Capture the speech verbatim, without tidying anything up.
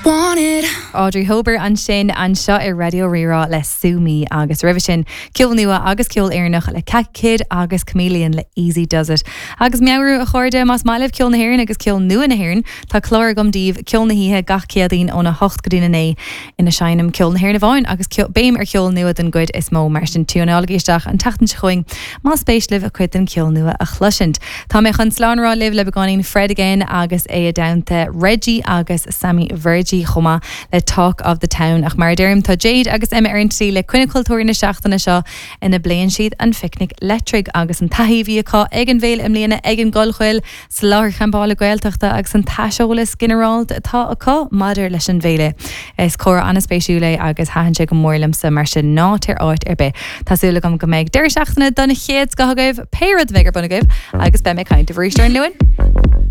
Want it. Audrey Hober ansin anseo ar Raidió Rí-Rá le Sue Me agus roimhe sin ceol nua agus ceol Éireannach le Cat Kid agus Chameleon le Easy Does It. Agus meabhrú a chairde más maith libh ceol na hÉireann agus ceol nua na hÉireann Tá clár agam daoibh ceol na hoíche gach Céadaoin óna hocht go dtí a naoi ina seinnim ceol na hÉireann amháin agus béim ar cheol nua den gcuid is mó mar sin tiúnálaigí isteach an tseachtain seo chugainn más spéis libh a chuid den ceol nua a chloisint. Tá mé chun slán a rá libh le beagáinín Fred again agus é i dteannta Reggie agus Sammy Virji chomh maith le Talk of the Town ach mar deirim tá Jade agus Emma ar an tí le coinne cultúr na seachtaine seo ina bpléann siad an Phicnic Leictreach agus an taithí acu ag an bhféile i mbliana ag an gCollchoill sa láthair champála Gaeltachta agus an t-aiseolas ginearálta atá acu maidir leis an bhféile. Is comhrá an-spéisiúil é agus thaitin sé go mór liomsa mar sin ná téir áit ar bith. Tá súil agam go mbeidh deireadh seachtaine den chéad scoth agaibh pé rud a bheidh ar bun agaibh agus beidh mé ag caint arís ar an Luan.